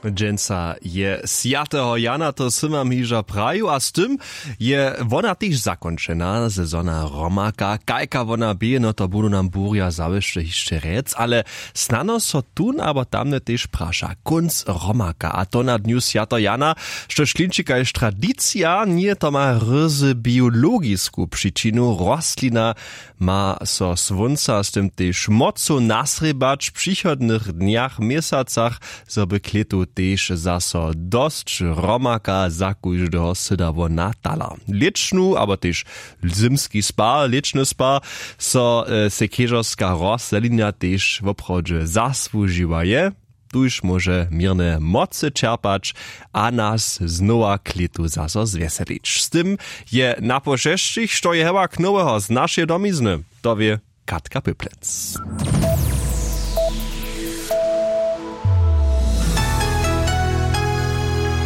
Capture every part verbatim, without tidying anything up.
Dźensa je swjateho Jana, to sy wam hižo praju, a z tym je wona tež zakónčena. Sezona romaka, kajka wona bě, no to budu nam burja zawěsće hišće rjec, ale snano so tón abo tamne tež praša kónc romaka, a to na dnju swjateho Jana, štož klinči kaž tradicija, njeje to ma ryzy biologisku přičinu. Rostlina ma so słónca z tym tež mocu nasrěbać w přichodnych dnjach, měsacach, zo by klětu tež zaso dosć romaka za kóždeho sydało na talar. Lěčnu abo tež zymski spar, lěčny spar, so e, sej chěžerska rostlina tež woprawdźe zasłužiła je. Tuž móže měrne mocy čerpać a nas znowa klětu zaso zwjeselić. Z tym je na pošesćich, što je hewak noweho z našeje domizny, to wě Katka Pyplec.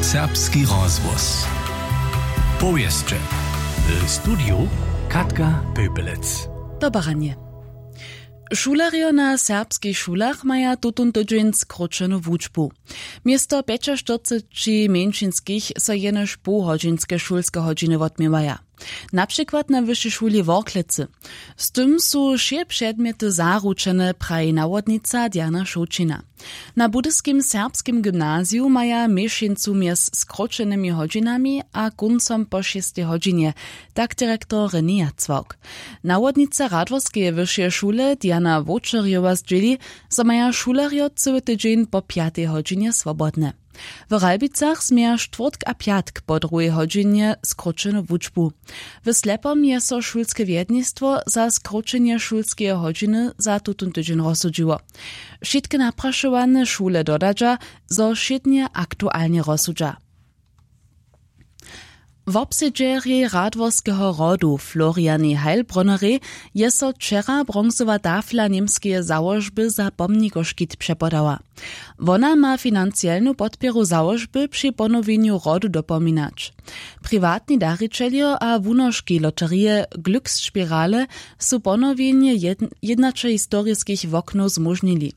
Serbski rozhłos. Powěsće. W studiju Katka Pypelec. Dobaranje. Šulerjo na serbskich šulach maja tutón tydźeń skróćenu wučbu. Město pjećaštyrceći mjeńšinskich so jenož połhodźinske šulske hodźiny wotměwaja. Na přikład na wyšej šuli w Worklecy. Z tym su wšě předmjety zaručene, praji nawodnica Diana Šołćina. Na budyskim serbskim gymnaziju maja měšeńcu mjez skróćenymi hodźinami a kóncom po šěstej hodźinje, tak direktor René Jacwałk. Nawodnica Radworskeje wyšeje šule Diana Wočerjowa zdźěli, zo maja šulerjo cyły tydźeń po pjatej hodźinje swobodne. W Ralbicach změja štwórtk a pjatk po druhej hodźinje skróćenu wučbu. W Slepom je so šulske wjednistwo za skróćenje šulskeje hodźiny za tutón tydźeń rozsudźiło. Wšitke naprašowane šule dodadźa, zo wšědnje aktualnje rozsudźa. Wobsedźerjej Radworskeho hrodu Florianej Heilbronnerej je so wčera bronzowa tafla němskeje załožby za pomnikoškit přepodała. Wona ma financielnu podpěru załožby při ponowjenju hrodu dopominać. Priwatni darićeljo a wunoški loterije Glücksspirale su ponowjenje jědnaće historiskich woknow zmóžnili.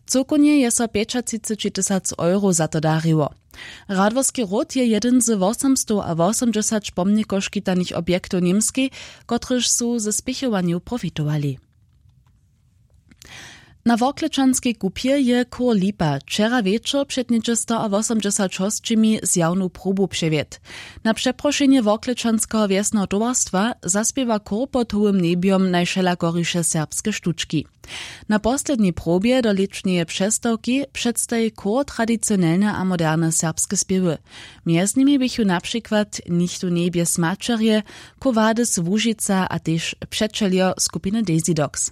Cyłkownje je so pjećatřiceći tysac euro za to dariło. Radworski hród je jedyn z wosomstow a wosomdźesać pomnikoškitanych objektow w Němskej, kotryž su ze spěchowanjow profitowali. Na Worklečanskej kupje je chór Lipa wčera wječor před něhdźe sto a wosomdźesać hosćimi zjawnu probu přewjedł. Na přeprošenje Worklečanskeho wjesneho towarstwa zaspěwa chór pod hołym njebjom najwšelakoriše serbske štučki. Na poslednjej probje do lěćneje přestawki předstaji chór tradicionelne a moderne serbske spěwy. Mjez nimi běchu na přikład Nichtó njebje smaćerje, Quo Vadis Łužica a tež přećeljo skupiny Desidox.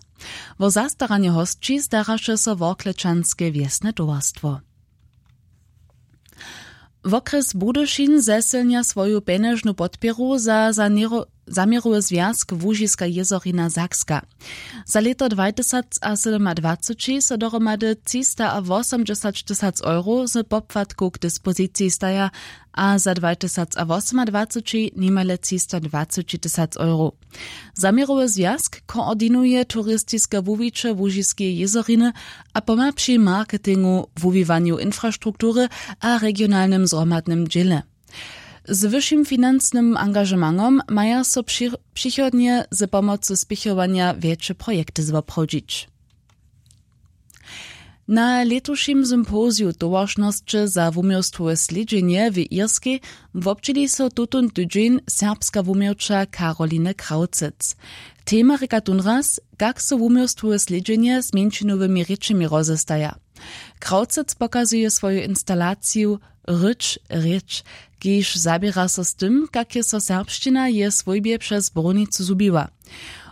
Wo zastaranje hosći staraše so Worklečanske wjesne towarstwo. Wokrjes Budyšin zesylnja swoju pjenježnu podpěru za zaměro-, zaměrowy zwjazk Łužiska jězorina Sakska. Za lěto dwatysacsydomadwaceći so dohromady třista a wosomdźesać tysac euro z popłatkow k dispoziciji staja a za dwatysacwosomadwaceći nimale třista dwaceći tysac euro. Zaměrowy zwjazk koordinuje turistiske wuwiće Łužiskeje jězoriny a pomha při marketingu, wuwiwanju infrastruktury a regionalnym zhromadnym dźěle. Z wyšim financnym angažementom maja so při-, přichodnje z pomocu spěchowanja wjetše projekty zwoprawdźić. Na lětušim sympoziju towaršnosće za wuměłstwowe slědźenje w Irskej wobdźěli so tutón tydźeń serbska wuměłča Karoline Krawcec. Tema rěka tónraz, kak so wuměłstwowe slědźenje z mjeńšinowymi rěčemi rozestaja. Krawcec pokazuje swoju instalaciju Rěč, rěč, kiž zaběra so z tym, kak je so serbšćina w jeje swójbje přez brunicu zhubiła.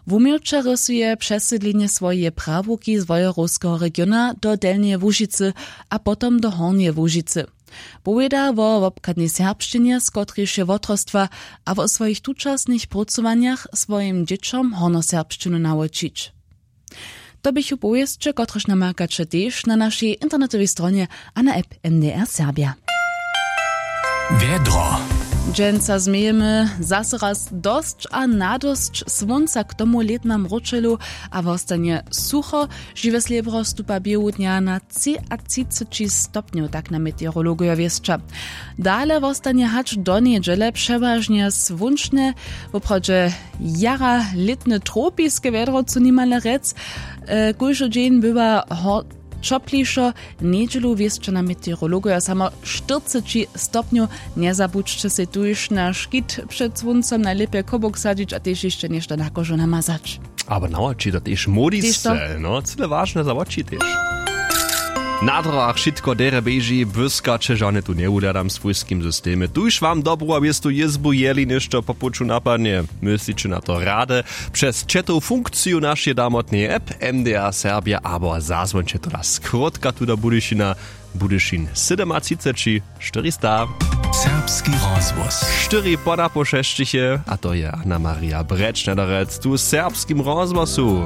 Wuměłča rysuje přesydlenje swojeje prawuki z Wojerowskeho regiona do Delnjeje Łužicy a potom do Hornjeje Łužicy. Powěda wo wobchadnej serbšćinje, z kotrejž je wotrostwa, a wo swojich tučasnych prócowanjach swojim dźěćom hornjoserbšćinu nawučić. To běchu powěsće, kotrež namakać tež na našej internetowej stronje a na app N D R Serbia. Wjedro. Dźensa změjemy zaso raz dosć a nadosć słónca k tomu lětnam wróćelu, a wostanje sucho. Žiwe slěbro stupa běhu dnja na třiatřiceći stopnjow, tak na meteorologojo wěsća. Dale wostanje hač do njedźele přewažnje słónčne, woprawdźe jara lětne tropiske wjedro, co nimale rjec. Kóždy dźeń bywa ho ćoplišo. Njedźelu wěsća na meteorologojo samo štyrceći stopnjow. Njezabudźće sej tuž na škit před słóncom najlěpje kobok sadźić a tež hišće něšto na kožu namazać. Abo na oči to tež młodi sće, no cyle wažne za oči tež. Na drogach wšitko derje běži, błyskaće žane tu njewuhladam w swójskim systemje, tuž wam dobru a wěstu jězbu jeli něšto po puću napadnje, mysliće na to rady přez ćetow funkciju našeje damotneje app, mda serbja abo zazwončetola skrótka tuda budyšina, budyšin sydomatřiceći štyristaw. Serbski rozhłos. Štyri poda po šesćich je a to je anna maria brečnaderec tu w serbskim rozhłosu.